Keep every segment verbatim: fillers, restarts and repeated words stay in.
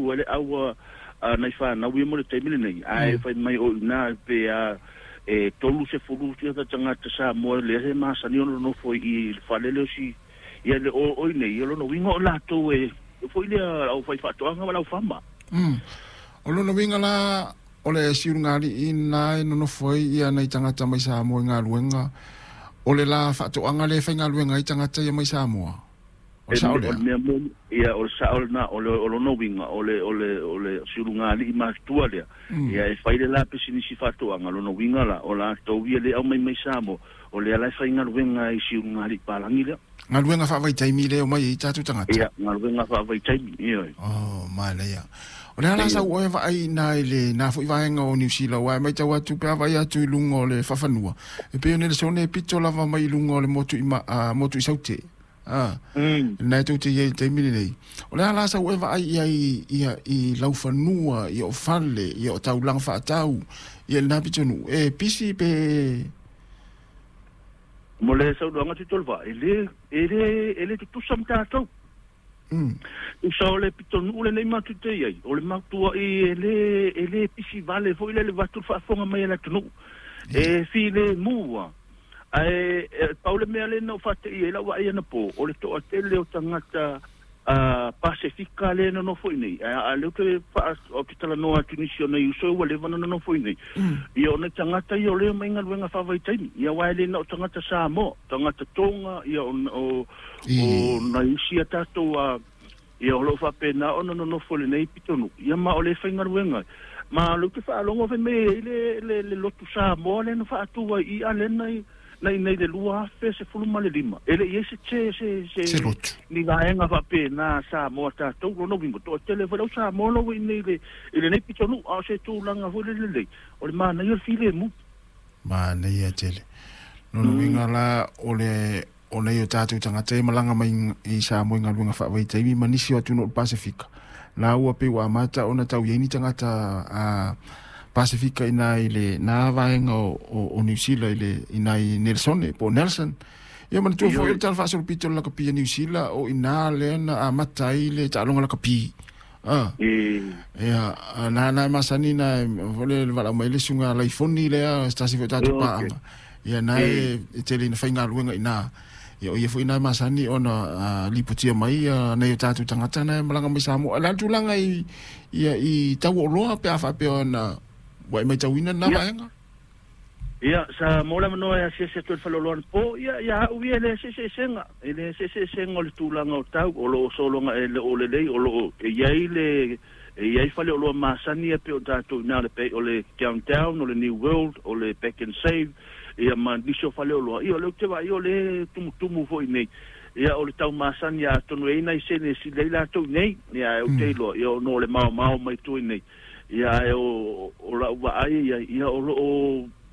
tu ai le aua nai whanau ia mo le taimi lenei. Ae fai mai o ina pe a e tolu se fulu tia tagata Samoa lea he masani ona nofo i le fale lea o si ia le o oi nei ia lona uiga o latou e foi lea au fai faatoaga ma lau fama. Mm. O lona uiga la o le siulugalii na e nonofo ai ia nai tagata mai Samoa i galuega o le la faatoaga le faigaluega ai tagata ia mai Samoa. O le sao lea. O le mea moni, ia o le sao lena, o le o lona uiga, o le o le o le siulugalii matutua lea. Ia e fai le la pisinisi faatoaga, lona uiga la, o latou ia le aumai mai Samoa, o lea la e faigaluega i siulugalii palagi lea. Galuega faavaitaimi lea o mai ai tatou tagata. Ia, galuega faavaitaimi, ioe. Oh, manaia. O le a la sau oe vaai i ina i le na foi vaega o Niu Sila, aua e matau atu pe a vaai atu i luga o le faafanua, e pei ona Nelesone e pito lava mai i luga o le motu i, ma, a, motu i Saute. A, Mm. lena e tou te i ai i le taimi lenei. O le a la sau oe vaai i ai ia, i laufanua, ia o fale, ia o taulaga faatau, ia lena pitonuu, e pisi pe. Mo le saunoaga Tuitolovaa, e le, e le, e le tutusa ma tatou. Mm. Tusa o le pitonuu lenei matou te i ai, o le matuai e le, e le pisi vale foi lea le avatu le faafofoga mai a le atunuu. E filemu lava. Ae e pau le mea lea na ou faateia ai lau vaai anapo, o le toatele o tagata a Pasefika lea e nonofo i nei, a a lea ou te faa, ou te talanoa atu i nisi o nai uso ua leva ona nonofo i nei, ia o nai tagata ia o lea omai galuega faavaitaimi, ia aua e le na o tagata Samoa, tagata Tonga, ia o, o, o nai isi a tatou a, ia o lo o faapena ona nonofo i lenei pitonuu, ia ma o lea e faigaluega ai. Ma o lea ou te faalogo fai mai e i ai le, le, le lotu Samoa lea na faatu ai i i lea na i, na i nei le lua afe sefulu ma le lima, e le i ai se se se Se se lotu. ni vaega faapena Samoa tatou lona uiga toatele foi le au Samoa lo ua i nei i le i lenei pitonuu, a o se tulaga foi le lelei o le manaia o le filemu. Manaia tele. Lona uiga la o le o nei o tatou tagata e malaga mai i Samoa i galuega faavaitaimi ma nisi o atunuu o le Pasefika. La ua pei ua amata ona tau i ai ni tagata a Pasefika ina i le na vaega o, o, o Niu Sila i le ina i Nelsone po o Nelson. Ia manatua foi o le tala faasolopito o le lakapi a Niu Sila o ina lea na amata ai le taaloga lakapi. Ah. Ia, na na e masani na foi le valaau mai le susuga Laifoni lea se tasi foi o tatou paaga. Ia na e e tele ina faigaluega i ina. Ia o ia foi na e masani ona uh, lipotia mai ia nai o tatou tagata na e malaga mai Samoa. O le a le tulaga i ia i tau o oloa pe a faapea ona ua e matauina lena Ia. vaega? Ia, sa maua le avanoa e asiasi atu ai le faleoloa anapo, ia, ia au ia e leai se eseesega, e leai se eseesega o le tulaga o tau, o lo o sologa e le o lelei, o lo o e i ai le, e i ai faleoloa masani ia pei o tatou i ina o le, o le Downtown, o le New World, o le Pack and Save, ia ma nisi o faleoloa, ia o lea ou te vaai o lea e tumutumu foi nei, ia o le tau masani atonu e i ai nai sene e sili ai latou nei, ia ae ou te iloa, ia ona o le maomao mai tua i nei, ia ae o, o lau vaai ia, ia o lo o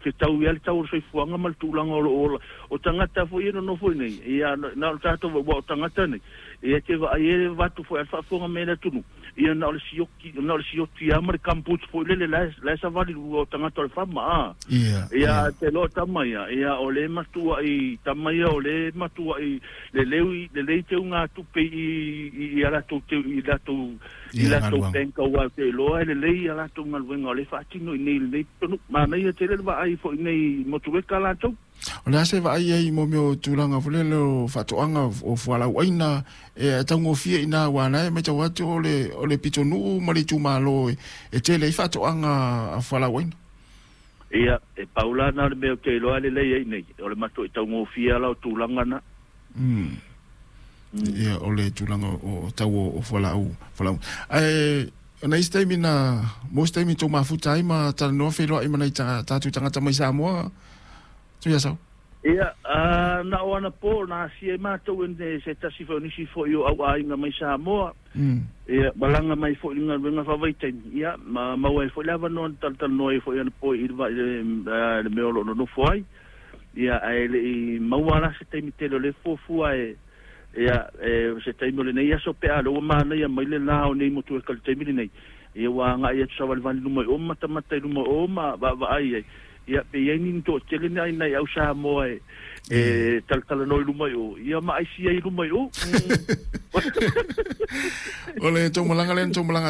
fetau ai le tau o le soifuaga ma le tulaga o lo o ola, o tagata foi ia e nonofo i nei, ia na o le tatou aua o tagata nei, ia te vaai e avatu foi a le faafofoga mai a le atunuu, ia na o le sioki, na o le sioti lava ma le gumboots foi lele la e, la e savali lua o tagata o le fama, a. Ia, Ia ia. te loa tama ia, ia o le matuai tama ia o le matuai lelei, lelei teugatupe i, i, i a latou teu, i latou, i Ia latou galuega. bank aua ou te iloa e lelei a latou galuega o lea e faatino i nei i lenei pitonuu. Manaia tele le vaai foi i nei motueka latou. O le a se vaai ai mo mea o tulaga foi lele o faatoaga o fualaauaina e taugofie i ina aua na e matau atu o le o le pitonuu ma le itumalo e, e tele ai faatoaga a fualaauaina. Ia, e pau la na o le mea ou te iloa e lelei ai nei, o le matuai taugofie la o tulaga na. Mm. Ia, o le tulaga o, o tau o, o fualaau, fualaau. Ae o nai isi taimi na, mo isi taimi tou mafuta ai ma talanoa feiloai ma nai ta, tatou tagata mai Samoa, Tuiasau. Ia, a, na o anapo, na asia ai matou e ne, se tasi foi o nisi foi o au aiga mai Samoa. Mm. Ia, malaga mai foi i le galuega faavaitaimi. Ia, ma maua ai foi le avanoa na talatalanoa ai foi anapo i le, i le, le mea o lo o nonofo ai. Ia, ae le i maua la se taimi tele o lea e fuafua e, ia, e, se taimi o lenei aso pe a lea ua manaia mai le la o nei motu e ka le taimi lenei. Ia, ua agai atu savalivali i luma i o ma matamata i luma o ma vaavaai ai. Ia, pe i ai ni toatele ni ai nai au Samoa e, e talatalanoa i luma i o, ia ma aisi ai i luma i o. O le tou malaga lea na tou malaga